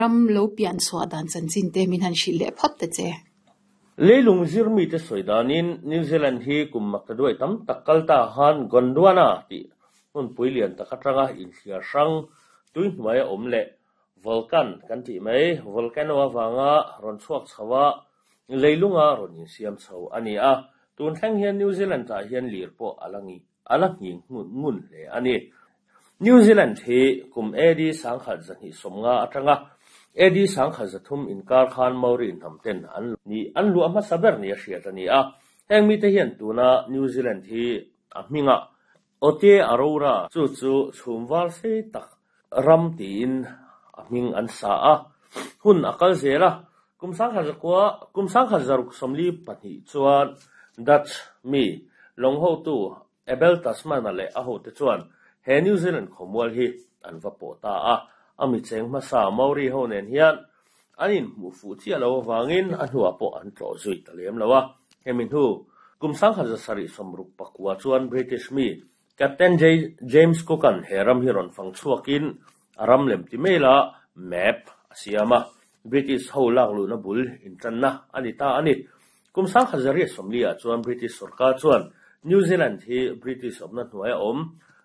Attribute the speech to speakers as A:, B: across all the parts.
A: Ram lo pian chhuah dan chanchin te min han hrilh leh phawt ta che.
B: Leilung zir mite sawi danin New Zealand hi kum maktaduai tam tak kal ta khan Gondwana tih hmunpui lian tak atanga inthliar hrang tui hnuaia awm leh volcan kan tih mai volcano avanga rawn chhuak chho a, leilunga rawn insiam chho a ni a. Tun thleng hian New Zealand ah hian lir pawh a la a la nghing ngun hle a ni. New Zealand hi kum AD 1250 atanga AD 1300 inkar khan Maori hnam ten an ni an luah hmasa ber nia hriat a ni a. Heng mite hian tuna New Zealand hi a hmingah Aotearoa chu chu chhum var sei tak ram tiin a hming an sa a. Hun a kal zel a, kum 1009 kum 1642 chuan Dutch mi lawng hotu Abel Tasman-a leh a hote chuan he New Zealand khawmual hi an va pawh ta a. A mi cheng hmasa Maori ho nen hian an inhmuh fuh chiah lo avangin a hnuah pawh an tlawh zui ta lem lo a. Hemi hnu kum 1769 chuan British mi Captain James Cook-a'n he ram hi rawn fang chhuakin a ram lem ti mai la map a siam a, British ho lak luhna bul intanna a ni ta a ni. Kum 1840 ah chuan British sorkar chuan New Zealand hi British awmna hnuaia awm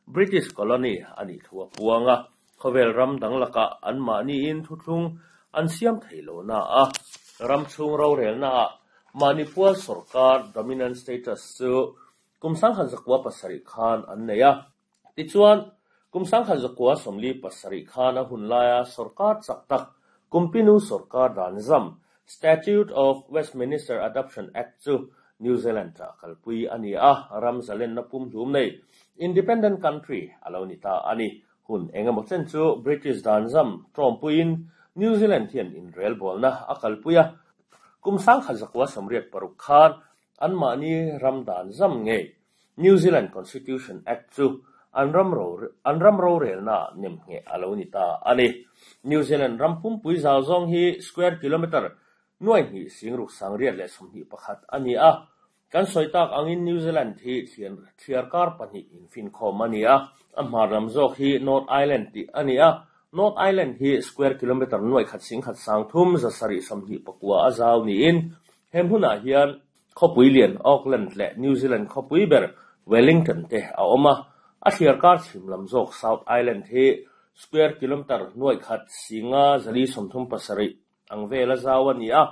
B: British colony a nih thu a puang a, khawvel ram dang lakah anmahniin thuthlung an siam thei lo na a, ram chhung rorelnaah mahni pual sorkar dominant status chu Kum 1907 khan an nei a. Tichuan, kum 1947 khan a hun laia sorkar chak tak Kumpinu sorkar dan zam, Statute of Westminster Adoption Act chu New Zealand-ah kalpui a ni a, ram zalenna pumhlum nei, independent country, a lo ni ta a ni. Hun eng emaw chen chu British dan zam tawmpuiin New Zealand hian inrelbawlna a kalpui a. Kum 1986 khan Anmahni ram dan zam ngei New Zealand Constitution Act chu an ram an ram rorelnaah nemngheh a lo ni ta a ni. New Zealand ram pumpui zau zawng hi square kilometre nuai hnih singruk sangriat leh 21 a ni a. Kan sawi tak angin New Zealand hi thliar kar pahnih infinkhawm a ni a, a hmar lam zawk hi North Island tih a ni a. North Island hi square kilometre nuai khat singkhat sang thum 729 a zau niin He hmunah hian khawpui lian Auckland leh New Zealand khawpui ber Wellington te a awm a, a thliarkar chhim lam zawk South Island hi square kilometre nuaih khat singa 437 ang vela zau a ni a,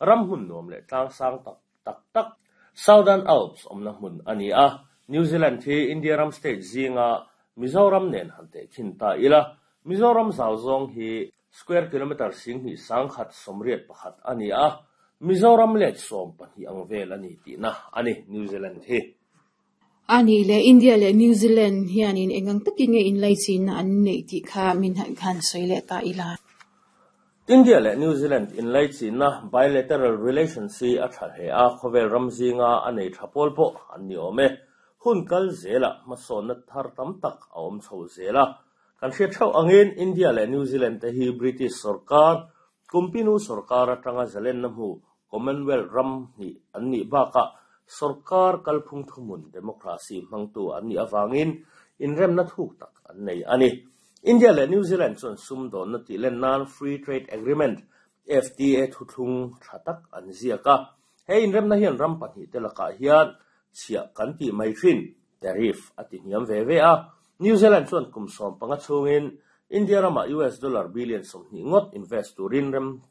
B: ram hmun nuam leh tlang sang tak tak tak Southern Alps awmna hmun a ni a. New Zealand hi India ram state zinga Mizoram nen han tehkhin ta ila, Mizoram zau zawng hi Square kilometre 21 181 a ni a, Mizoram let 12 ang vel a ni tihna a ni New Zealand hi.
A: A nih leh India leh New Zealand hianin eng ang takin nge inlaichinna an neih tih kha min han sawi leh ta ila.
B: India leh New Zealand inlaichinna, bilateral relations, hi a tha hle a, khawvel ram zinga a nei tha pawl pawh an ni awm e. Hun kal zelah hmasawnna thar tam tak a awm chho zel a, Kan hriat theuh angin India leh New Zealand te hi British sorkar, Kumpinu sorkar atanga zalenna hmu Commonwealth ram hnih an nih bakah sorkar kalphung thuhmun democracy hmangtu an nih avangin inremna thuk tak an nei a ni. India leh New Zealand chuan sumdawnna tih len nan Free Trade Agreement, FTA, thuthlung tha tak an ziak a. He inremna hian ram pahnih te lakah hian chhiah kan tih mai thin tariff a ti hniam ve ve a. New Zealand chuan kum 15 chhungin India ramah US dollar billion 20 ngawt invest turin rem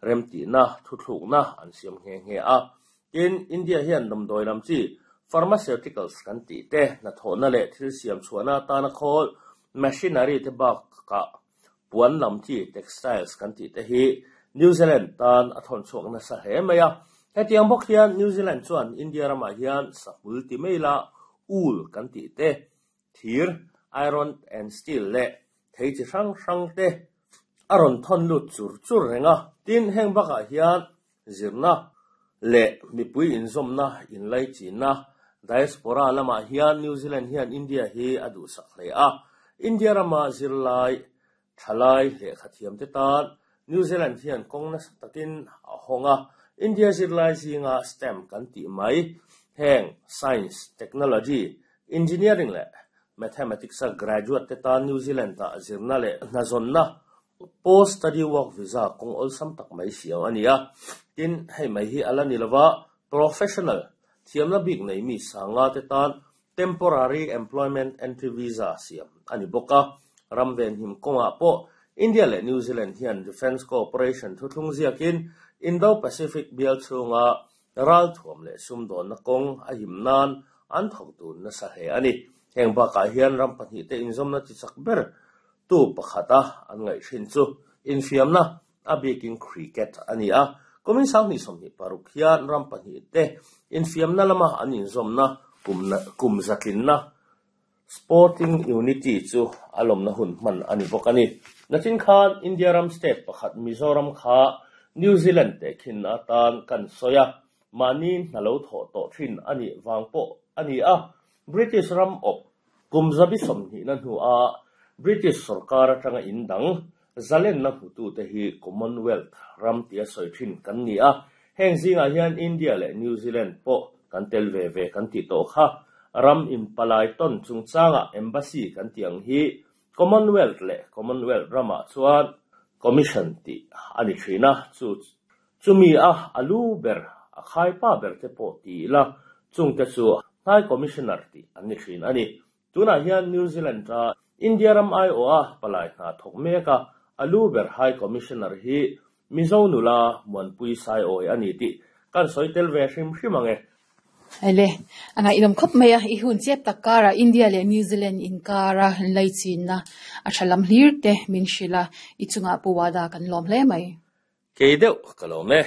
B: remtihna thuthlukna an siam nghe nghe a. Tin, India hian damdawi lam chi pharmaceuticals kan tih te, hnathawhna leh thil siam chhuahna atana khawl machinery te bakah puan lam chi textiles kan tih te hi New Zealand tan a thawn chhuak nasa hle mai a. Hetiang bawk hian New Zealand chuan India ramah hian sahmul ti mai la wool kan tih te, thir, iron and steel leh thei chi hrang hrang te a rawn thawn lut chur chur reng a. Tin, heng bakah hian zirna leh mipui inzawmna inlaichinna diaspora lamah hian New Zealand hian India hi a duhsak hle a. India rama zirlai, thalai lehkha thiamte tan New Zealand hian kawng nasa takin a hawng a. India zirlai zinga STEM kan tih mai, heng Science, Technology, Engineering leh Mathematics-a graduate te tan New Zealand-ah zirna leh hnazawnna. Post Study Work Visa kawng awlsam tak mai siam a ni a. Tin, hei mai hi a la ni lova, professional, thiamna bik nei mi sanga te tan Temporary Employment Entry Visa siam a ni bawk a. Ram venhim kawngah pawh India leh New Zealand hian Defence Cooperation thuthlung ziakin Indo-Pacific bial chhunga ralthuam leh sumdawnna kawng a him nan an thawk dun nasa hle a ni. Heng bakah hian ram pahnihte inzawmna chi chak ber tu pakhata an ngaih thin chu infiamna, a bikin cricket a ni a. Kumin 2026 hian ram pahnihte infiamna lama an inzawmna kum zatlinna Sporting Unity chu a lawmna hun hman a ni bawk a ni. Nachin khan India ram state pakhat Mizoram kha New Zealand tehkhinna atan kan sawi a, mahni hna lo thawh tawh thin a nih vang pawh a ni a. British ram awp kum zabi sawmhnihna hnua British sorkar atanga in dang zalenna hmutute hi Commonwealth ram tia sawi thin kan ni a, heng zingah hian India leh New Zealand pawh kan tel ve ve kan tih tawh kha. Ram inpalai tawn chungchangah embassy kan tih ang hi Commonwealth leh Commonwealth ramah chuan Commission tih a ni thin a, chu Chumi a a lu ber, a khaipa ber te pawh ti ila, chungte chu High Commissioner tih an ni thin a ni. Tunah hian New Zealand a India ram aiawha palai hna thawk mek a, a lu ber High Commissioner hi Mizo nula Muanpui Saiawi a ni tih kan sawi tel ve hrim hrim ang e.
A: Ele, a ngaihdam khawp mai a, i hun chep tak karah India leh New Zealand inkara inlaichinna a tha lam hlir te min hrilh a, i chungah Pu Wada kan lawm hle mai.
B: Kei deuh ka lawm e.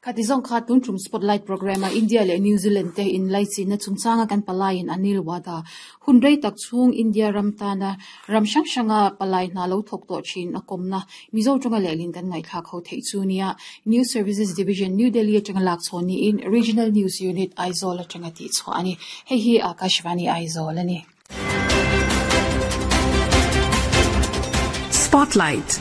A: Khati zawng kha tun tum Spotlight programme a India leh New Zealand te inlaichinna chungchanga kan palaiin Anil Wada hun rei tak chhung India ram tana ram hrang hranga palai hna lo thawk tawh thin a kawmna Mizo tawnga lehlin kan ngaihthlak ho theih chu nia News Services Division New Delhi atanga lak chhawn niin Regional News Unit Aizawl atanga tihchhuah a ni. Hei hi Akashvani Aizawl a ni.
C: Spotlight.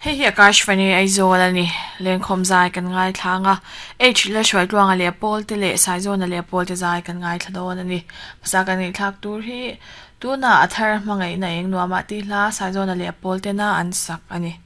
D: Hei hi Akashvani Aizawl a ni. Lengkhawm zai kan ngaithla ang a. H la Hruaitluanga leh Pawlte leh Saizawna leh Pawlte zai kan ngaithla dawn a ni. Hmasa kan ngaihthlak tur hi tunah a thar hmangaihna eng nuamah tih hla Saizawna leh Pawltena an sak a ni.